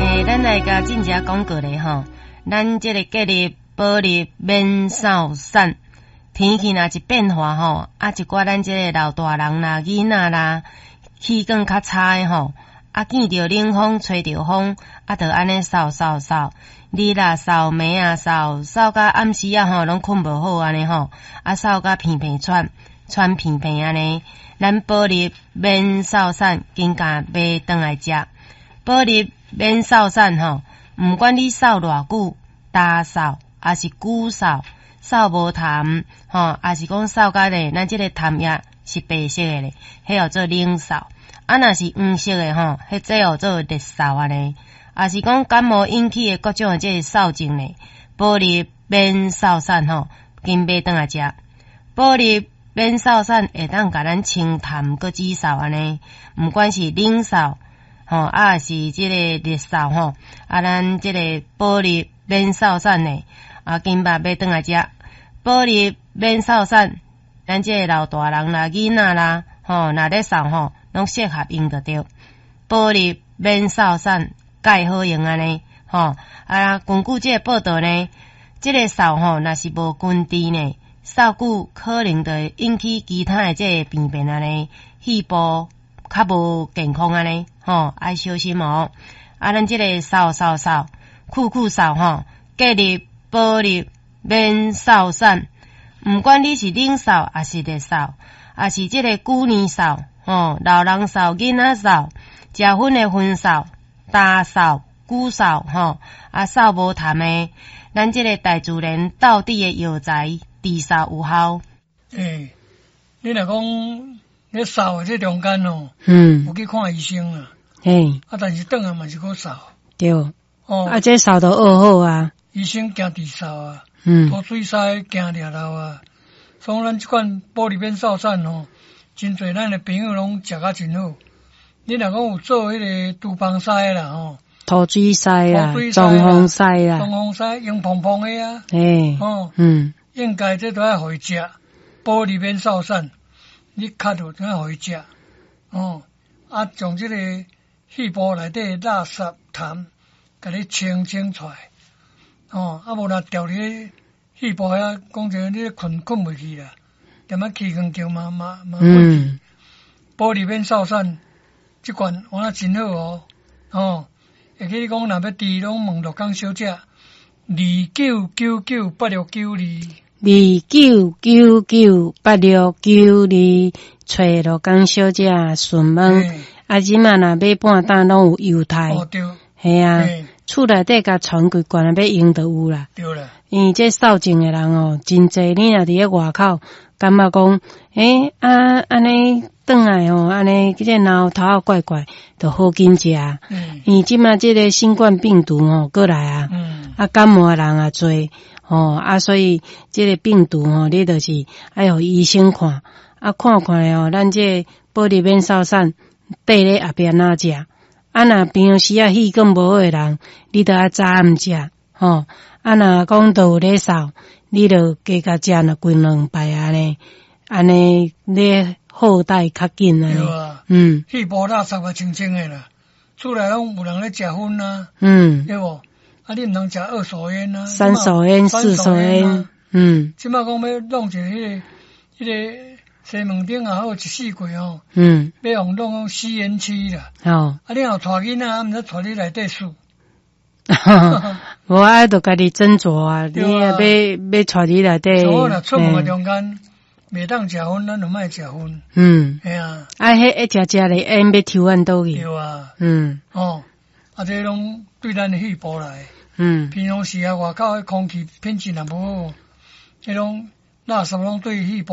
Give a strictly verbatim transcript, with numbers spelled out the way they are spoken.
欸，咱來共進遮廣告咧吼，咱這个隔日保入免掃散，天氣若一變化吼，啊一寡咱這个老大人啦、囡仔啦，氣管較差的吼，啊見著冷風、吹著風，啊就按呢嗽嗽嗽，日啊嗽，暝啊嗽，嗽甲暗時仔吼攏睏無好按呢吼，啊嗽甲鼻鼻喘，喘鼻鼻按呢，咱保入免嗽散，緊共買轉來食。保入免嗽散吼，毋管你嗽偌久，焦嗽，抑是久嗽，嗽無痰吼，抑是講嗽甲咧，咱這个痰液是白色的咧，彼號做冷嗽。啊，若是黃色的吼，彼這號做熱嗽按呢。抑是講感冒引起的各種的這个嗽症咧，保入免嗽散吼，緊買轉來食。保入免嗽散會當共咱清痰閣止嗽按呢，毋管是冷嗽吼，啊是這个熱嗽吼，啊咱這个保入免嗽散呢，啊緊捌買轉來食。保入免嗽散，咱這个老大人啦、囡仔啦，吼，若咧嗽吼，攏適合用就對。保入免嗽散，蓋好用按呢，吼啊，根據這个報道呢，這个嗽吼，若是無根治呢，嗽久可能就會引起其他的這个病變按呢，肺部較無健康按呢，吼，愛小心哦。啊，咱這个嗽嗽嗽，久久嗽吼，隔日保入免嗽散，毋管你是冷嗽，抑是熱嗽，抑是這个久年嗽，吼，老人嗽、囡仔嗽，食薰的薰嗽、焦嗽、久嗽，吼，啊嗽無痰的，咱這个大自然道地的藥材治嗽有效。欸，你若講咧嗽的這中間哦，嗯，有去看醫生啊，嘿，啊，但是轉來嘛是閣嗽。對，哦，啊，這嗽都學好啊。醫生驚治嗽啊，嗯，吐水屎驚掠漏啊，所以咱這款保入免嗽散吼，真濟咱的朋友攏食甲真好。你若講有做彼个廚房篩啦吼，吐水篩啦，中風篩啦，中風篩用膨膨的啊，嘿，哦，嗯，應該這都愛予伊食，保入免嗽散，你咳著都愛予伊食，哦，啊，將這个肺部內底垃圾痰，共你清清出來，哦，啊無若牢佇肺部遐，講真，你睏睏袂去啦，踮仔氣管鏡嘛嘛嘛過去，保入免嗽散。這罐我真好哦，哦，會記你講若欲治，攏問樂江小姐，二九九九八六九二，二九九九八六九二，揣樂江小姐詢問。啊，這馬若買半擔攏有郵貸。哦，對。嘿啊，厝內底共傳幾罐欲用就有啦。對啦。因為這嗽症的人哦，真濟，你若佇咧外口，感覺講，欸，啊，按呢轉來哦，按呢這個腦頭仔怪怪，就好緊食。因為這馬這个新冠病毒吼過來啊，啊感冒的人也濟，吼啊，所以這个病毒吼，你就是愛予醫生看，啊看看哦，咱這保入免嗽散，綴咧後壁哪食？啊若平常時啊氣管無好的人，你著愛早暗食，吼。啊若講都有咧嗽，你著加共食若規兩擺按呢，按呢你好代較緊按呢。啊，嗯，肺部垃圾嘛清清的啦，厝內攏有人咧食薰啊，嗯，對無？啊，你毋通食二手煙啊，三手煙、四手煙，嗯，這馬講欲弄一个彼个彼个西門町也好，一四季吼，嗯，欲予弄講吸煙區啦，哦，啊，你若有帶囡仔，毋知帶你內底輸。無啊，著家己斟酌啊，你若欲欲帶佇內底。所以若出門的中間，袂當食薰，咱就莫食薰。嗯，嘿啊。啊，彼一食食咧，煙欲抽按佗去。對啊。嗯。哦，啊，這攏對咱的肺部來。嗯。平常時啊，外口的空氣品質若無好，彼攏垃圾攏對肺部。